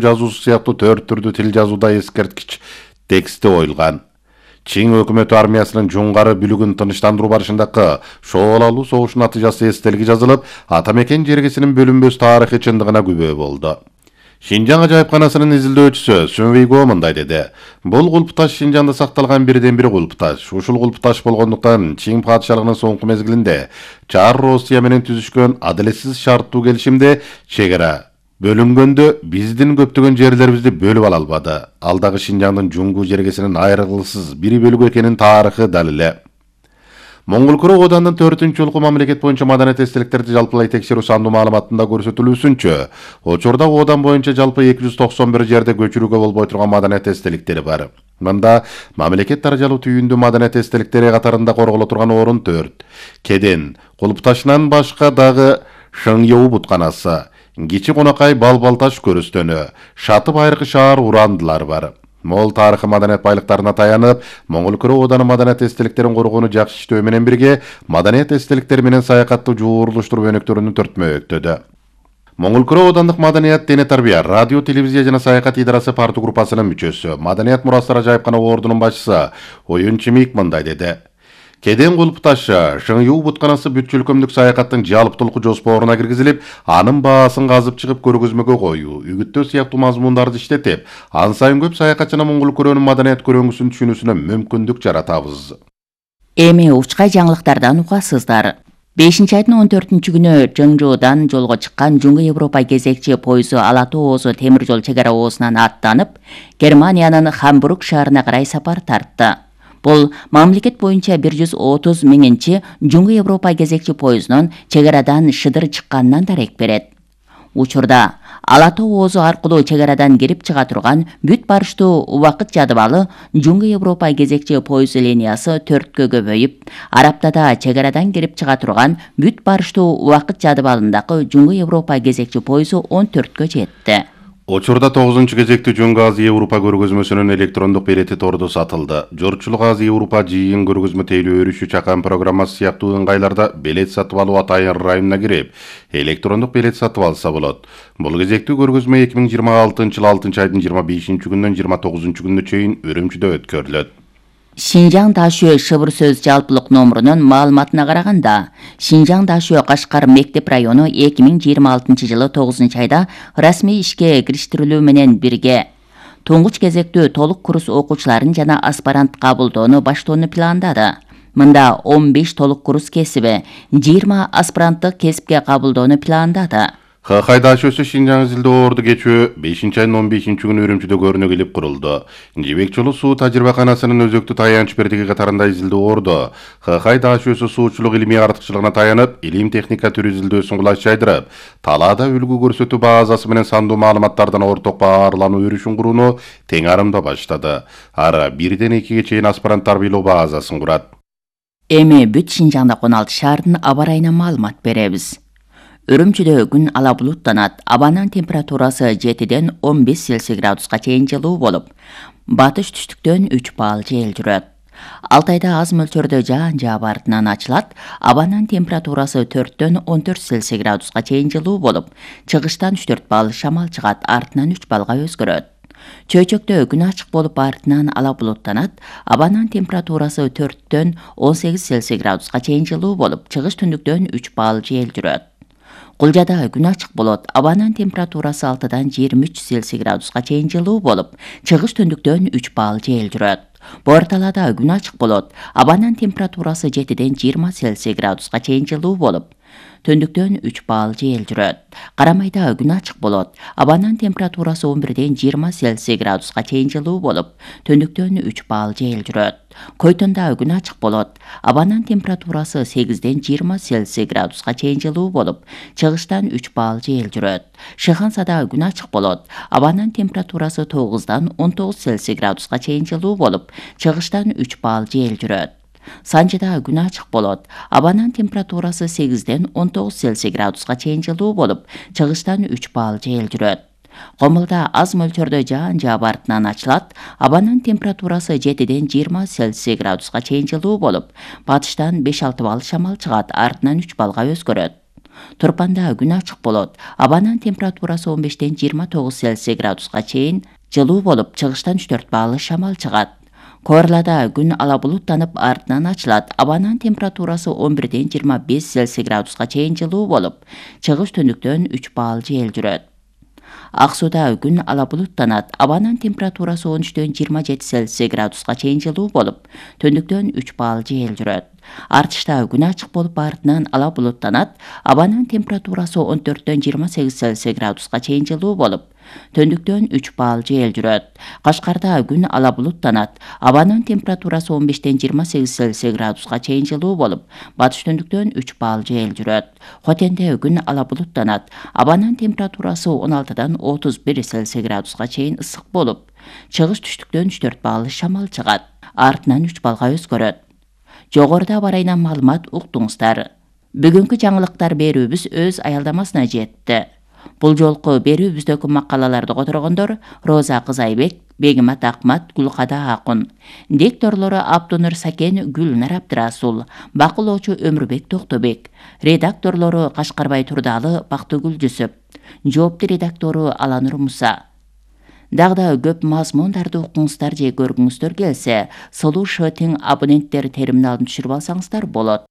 жазуусу сыяктуу 4 түрдүү тил жазууда эскерткич тексти коюлган. Чин өкмөтү армиясынын жуңгары бүлүгүн тынычтандыруу барышындагы шоолалуу согуштун натыйжасы эстелиги жазылып, ата мекен жергесинин бөлүнбөс тарыхый чындыгына күбө болду. Шинжаң ажайыпканасынын изилдөөчүсү Сун Вейго мындай деди. Бул кулпташ Шинжаңда сакталган бирден-бир кулпташ. Ушул кулпташ болгондуктан Чин падышалыгынын соңку мезгилинде Чар Россия менен түзүшкөн адилетсиз шарттуу келишимде чегара бөлүнгөндө биздин көптөгөн жерлерибизди бөлүп ала албады. Ал дагы Шинжаңдын жуңгу жергесинин айрылгысыз бир бөлүгү экенин тарыхы далиле. Моңгол Куру Оодандын 4-жолку мамлекет боюнча маданият эстеликтерди жалпылай текшерүү сандуу маалыматында көрсөтүлүүсүнчө, учурда Оодан боюнча жалпы 291 жерде көчүрүүгө болбой турган маданият эстеликтери бар. Мында мамлекет даражалуу түйүндүү маданият эстеликтери катарында корголо турган орун 4. Кеден, кулпташынан башка дагы Шыңёу бутканасы, Кичи Конакай Балбалташ көрүстөнү, Шаты Байыркы шаар урандылар бар. Мол тарыхый маданият байлыктарына таянып, Моңгол Куру Ооданын маданият эстеликтерин коргоону жакшы иштөө менен бирге, маданият эстеликтери менен саякатты жууруштуруп өнүктүрүүнү төртмөктөдө. Моңгол Куру Оодандык маданият, дене тарбия, радио, телевизия жана саякат идарасы парту группасынын мүчөсү, маданият мурастар ажайыпкана ордунун башчысы Оюн Чимик мындай деди. Кеден кулпташы Шыңёу бутканасы бүт өлкөмдүк саякаттын жалптылык жоспоруна киргизилип, анын баасын казып чыгып көргөзмөгө коюу, үгүттөө сыяктуу мазмундарды иштетип, ан сайын көп саякатчына Моңгол Күрөнүн маданият көрөңүсүн түшүнүүсүнө мүмкүндүк жаратабыз. Эми учка жаңылыктардан угасыздар. 5-айдын 14-күнү Чыңжуудан жолго чыккан Жуңгу Европа кезекчи пойызу Ала-Тоо Оозу темир жол чек ара оозунан аттанып, Германиянын Хамбург шаарына карай сапар тартты. Бул мамлекет боюнча 130 миңинчи Жуңгу Европа кезекчи пойызунун чек арадан шыдыр чыкканынан дарек берет. Учурда Ала-Тоо Оозу аркылуу чек арадан кирип чыга турган бүт барыштуу убакыт жадыбалы Жуңгу Европа кезекчи пойыз линиясы 4кө көбөйүп, Араптада чек арадан кирип чыга турган бүт барыштуу убакыт жадыбалындагы Жуңгу Европа кезекчи пойызу 14кө жетти. Учурда 9-кезекти Жуңгу Азия Европа көргөзмөсүнүн электрондук билети тордо сатылды. Журтчулук Азия Европа жыйын көргөзмө тейлөө өрүшү чакан программасы сыяктуу ыңгайларда билет сатып алуу атайын районуна кирип, электрондук билет сатып алса болот. Бул кезектүү көргөзмө 2026-жылы 6-айдын 25-күнүнөн 29-күнүнө чейин Үрүмчүдө өткөрүлөт. Шинжаң Дашөө шыбыр сөз жалпылык номурунун маалыматына караганда, Шинжаң Дашөө Кашкар мектеп району 2026-жылы 9-айда расмий ишке кириштирилүү менен бирге туңгуч кезектүү толук курс окуучуларын жана аспирант кабылдоону баштоону пландады. Мында 15 толук курс кесиби, 20 аспиранттык кесипке кабылдоону пландады. Хакай Дашөөсү Шинжаң изилдөө орду кечүү 5-айдын 15-күнү Үрүмчүдө көрүнө келип курулду. Жебек жолу суу тажрыйбаканасынын өзөктүү таянч бердиги катарында изилдөө орду Хакай Дашөөсү суучулук илимий артыкчылыгына таянып, илим техника түрү изилдөөсүн кулаш жайдырып, талаада үлгү көрсөтүү базасы менен сандуу маалыматтардан орток баарлануу өрүшүн курууну тең арымда баштады. Ара 1-2 чейин аспирант тарбийлоо базасын курат. Эми бүт Шинжаңда 16 шаардын аба ырайына маалымат беребиз. Үрүмчүдө күн ала булуттанат, абанын температурасы 7-ден 15 Цельсий градуска чейин жылуу болуп, батыш түштүктөн 3 балл жел жүрөт. Алтайда аз мөлчөрдө жаан жаап артынан ачылат, абанын температурасы 4-дөн 14 Цельсий градуска чейин жылуу болуп, чыгыштан 3-4 балл шамал чыгат, артынан 3 баллга өзгөрөт. Чөйчөктө күн ачык болуп артынан ала булуттанат, абанын температурасы 4-дөн 18 Цельсий градуска чейин жылуу болуп, чыгыш түндүктөн 3 балл жел жүрөт. Кулжада күн ачык болот, абанын температурасы 6-дан 23 Цельсий градуска чейин жылуу болуп, чыгыш түндүктөн 3 балл жел жүрөт. Борталада күн ачык болот, абанын температурасы 7-ден 20 Цельсий градуска чейин жылуу болуп, түндүктөн 3 балл жел жүрөт. Карамайда күн ачык болот, абанын температурасы 11-ден 20 Цельсий градуска чейин жылуу болуп, түндүктөн 3 балл жел жүрөт. Койтонда күн ачык болот, абанын температурасы 8-ден 20 Цельсий градуска чейин жылуу болуп, чыгыштан 3 балл жел жүрөт. Шыхансада күн ачык болот, абанын температурасы 9-дан 19 Цельсий градуска чейин жылуу болуп, чыгыштан 3 балл жел жүрөт. Санжыда күн ачык болот, абанын температурасы 8-ден 19 Цельсий градуска чейин жылуу болуп, чыгыштан 3 балл жел жүрөт. Комулда аз мөлчөрдө жаан жаап артынан ачылат, абанын температурасы 7-ден 20 Цельсий градуска чейин жылуу болуп, батыштан 5-6 балл шамал чыгат, артынан 3 баллга өзгөрөт. Турпанда күн ачык болот. Абанын температурасы 15-29 Цельсий градуска чейин жылуу болуп, чыгыштан 3-4 баалы шамал чыгат. Коорлада күн ала булуттанып, артынан ачылат. Абанын температурасы 11-25 Цельсий градуска чейин жылуу болуп, чыгыш түндүктөн 3 баал жел жүрөт. Ак сууда күн ала булуттанат. Абанын температурасы 13-27 Цельсий градуска чейин жылуу болуп, түндүктөн 3 баал жел жүрөт. Артышта күн ачык болуп, артынан ала булуттанат. Абанын температурасы 14-28 Цельсий градуска чейин жылуу болуп, түндүктөн 3 баал жел жүрөт. Кашкарда күн ала булуттанат. Абанын температурасы 15-28 Цельсий градуска чейин жылуу болуп, батыш түндүктөн 3 баал жел жүрөт. Хотенде күн ала булуттанат. Абанын температурасы 16-31 Цельсий градуска чейин ысык болуп, чыгыш түштүктөн 3-4 баал шамал чыгат. Артынан 3 балга өзгөрөт. Жогоруда аба райынан маалымат уктуңуздар. Бүгүнкү жаңылыктар берүүбүз өз аялдамасына жетти. Бул жолку берүүбүздөгү макалаларды которгондор Роза Кызайбек, Бегимат Акмат, Гүлкада Акун. Дикторлору Абдунур Сакен, Гүлнар Абдырасул, бакылоочу Өмүрбек Токтобек. Редакторлору Кашкарбай Турдалы, Бактыгүл Жүсөп. Жоопту редактору Аланур Муса. Дагы көп мазмундарды укуңуздар же көргүңүздөр келсе, Solution абоненттер терминалын түшүрүп алсаңыздар болот.